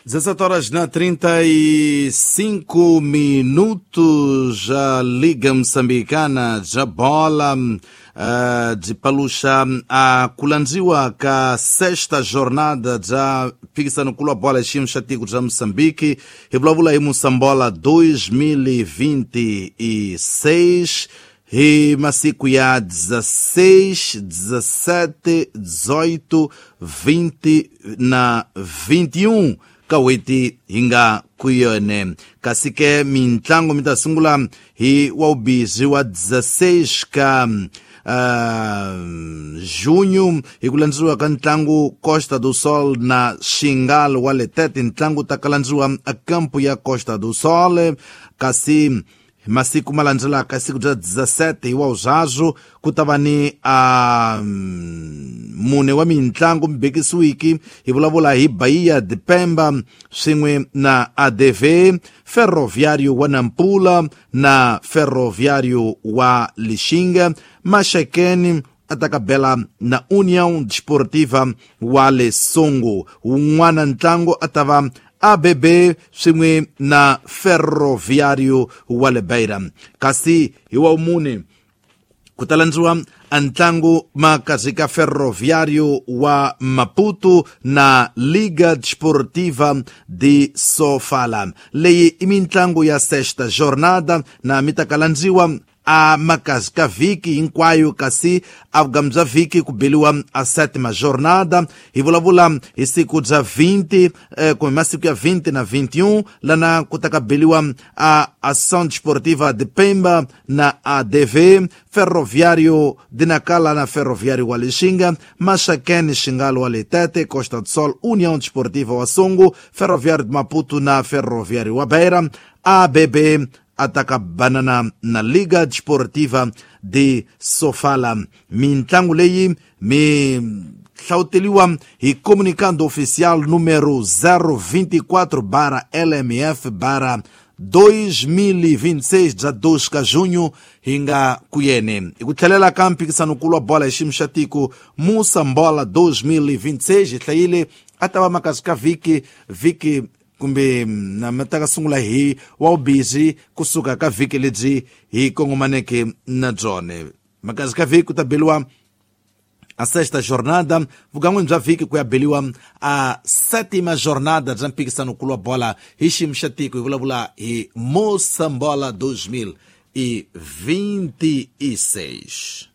17 horas na 35 minutos, a Liga Moçambicana já bola de paluxa a kulandziwa ka sexta jornada ja phikisano nkulu wa bola xiyimo xa tiko bya Moçambique. Hi vulavula hi Moçambola 2026 hi masiku ya 16, 17, 18, 20 na 21 ka n'hweti hi nga ku yone. Kasi ke mintlango mi ta sungula hi wa vubizi wa 16 ka junho hi ku landziwa ka ntlangu Costa do Sol na Xingal wa Letete. Ntlangu ta kalandziwa a kampo ya Costa do Sol. Kasi masiku ma landzelaka, siku bya 17 hi wa uzazwo, ku ta va ni a mune wa mintlangu mibekisiwiki. Hi vulavula hi Bahia de Pemba swin'we na ADV, Ferroviário wa Nampula na Ferroviário wa Lixinga, Maxekeni atakabela na União Desportiva wa Lesongo. Wun'wana ntlangu a ta va ABB swin'we na Ferroviário wa le Beira. Kasi hi wa mune ku ta landziwa a ntlangu makazi ka Ferroviário wa Maputo na Liga Desportiva de Sofala. Leyi i mintlangu ya sexta jornada na mi ta kalandziwa a makazi ka vhiki hinkwayo. Kasi a vugamu bya vhiki ku beliwa a sétima jornada. Hi vulavula hi siku bya 20 kumbe masiku ya 20 na 21, lana ku ta ka beliwa a Ação Desportiva de Pemba na ADV, Ferroviário de Nacala na Ferroviário wa Lixinga, Maxakene Xingalo wa Letete, Costa do Sol, União Desportiva wa Songo, Ferroviário de Maputo na Ferroviário wa Beira, ABB ataka banana na Liga Desportiva de Sofala. Mintlangu leyi mi hlawuteliwa hi comunicado oficial número 024 barra LMF barra 2026 bya 2 ka junho hi nga ku yene. Hi ku tlhelela ka mphikisano-nkulu wa bola hi xiyimo xa tiko Moçambola 2026, hi hlayile a ta va makazi ka vhiki vhiki kumbe na mi ta ka sungula hi wa vubizi kusuka ka vhiki lebyi hi kongomaneke na byona. Makazi ka vhiki ku ta beliwa a sexta jornada, vugan'wini bya vhiki ku ya beliwa a sétima jornada bya mphikisano-nkulu wa bola hi xiyimo xa tiko. Hi vulavula hi Moçambola 2026.